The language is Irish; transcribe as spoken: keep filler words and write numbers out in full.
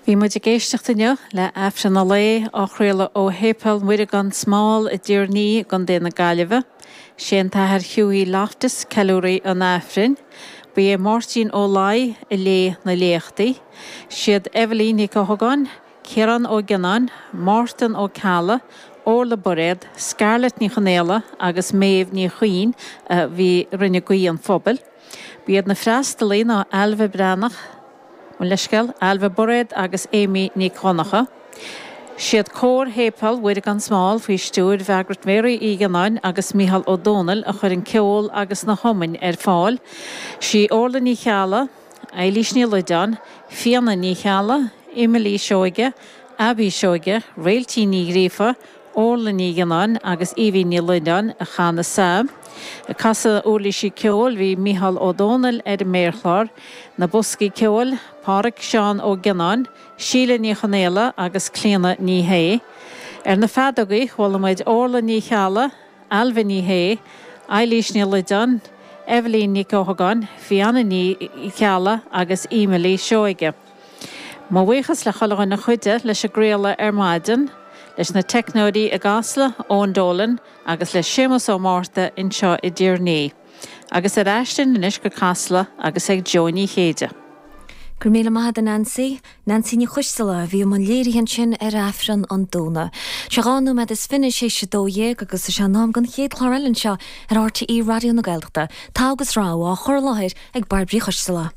Bhí muid ag éisteacht inniu le Aifreann an lae á chraoladh ó Shéipéal Mhuire gan Smál i dTír an Fhia i gContae na Gaillimhe. Sé an tAthair Hughie Loftus ceiliúraí an Aifrinn. Ba é Máirtín Ó Laoi a léigh na léachtaí. Siad Eibhlín Nic Eochagáin, Ciarán Ó Gionnáin, Mártan Ó Ceallaigh, Orla Bairéad, Scarlett Ní Chonaola agus Méabh Ní Chuinn a bhí rinne guí an phobail. Ba iad na freastalaithe ná Ailbhe Breathnach, Mo leithscéal, Ailbhe Bairéad agus Amy Nic Dhonncha. Siad cór Shéipéal Mhuire gan Smál faoi stiúir Mhargaret Mary Uí Ghionnáin agus Micheál Ó Dónaill a chuir an ceol agus na hiomainn ar fáil. Sí Orla Ní Cheallaigh, Eilís Ní Loideáin, Fianna Ní Cheallaigh, Emily Seoige, Abby Seoige, Réiltín Ní Ghríofa, Orla Ní Ghionnáin agus Evie Ní Loideáin a chan na sailm. Ag casadh uirlisí ceoil bhí Micheál Ó Dónaill ar an méarchlár, na boscaí ceoil, Pádraig Seán Ó Gionnáin, Síle Ní Chonaola agus Clíona Ní Shé. Ar na feadógaí chuala muid Orla Ní Cheallaigh, Ailbhe Ní Shé, Eilís Ní Loideáin, Eibhlín Nic Eochagáin, Fianna Ní Cheallaigh agus Emily Seoige. Mo bhuíochas le chuile dhuine a chuidigh leis an gcraoladh ar maidin, leis na teicneoirí i gCasla, Eoin Dolan agus le Séamus Ó Márta anseo i dTír an Fhia. Agus ar ais linn anois go Casla agus ag Jó Ní Chéide. Go raibh míle maith agat Nancy, Nancy Ní Choisteala a bhí i mbun léirithe ansin ar Aifreann an Domhnaigh. Sé dhá nóiméad is fiche tar éis a dó dhéag agus is é an am don chéad chlár eile anseo ar RTÉ Raidió na Gaeltachta, Togha agus Rogha á chur i láthair ag Bairbre Uí Choisteala.